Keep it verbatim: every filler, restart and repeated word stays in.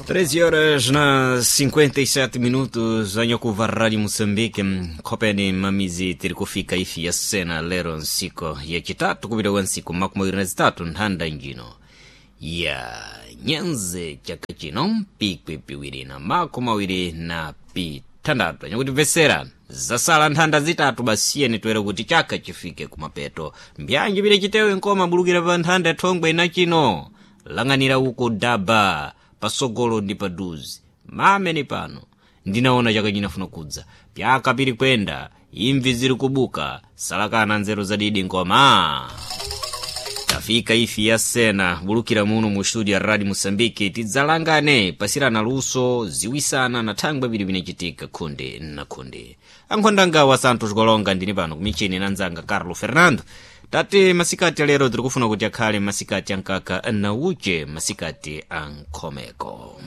treze horas na cinquenta e sete minutos, anyakuva Rádio Moçambique, khopeni mamizi tiri kufika ifi ya sena lero nsiku yacitatu kupita kwa nsiku makumi awiri na zitatu nthanda njino ya nyenze chaka chino mpikwi piwiri na makumi awiri na pitandatu. Anyakutimvesera, zasala nthanda zitatu basiyeni toera kuti chaka chifike kumapeto. Mbyanji pile chitewe nkoma bulukira pa nthanda thongwe na chino lang'anira uko daba pasogolo ndi paduzi mamene pano ndinaona chaka chinafuna kudza pyaka pili kwenda imvi ziri kubuka salakana nzeru zadidi nkoma. Tafika ifi ya sena bulukira muno mu studio ya Radio Moçambique, tidzalangane pasirana luso ziwisana na thangwe pili pinacitika khunde na khunde. Ankhondangawa Santos Golonga ndini pano kumichini na nzanga Carlo Fernando. Tati masikati alero tiri kufuna kuti akhale masikati ankaka na uche, masikati ankhomeko.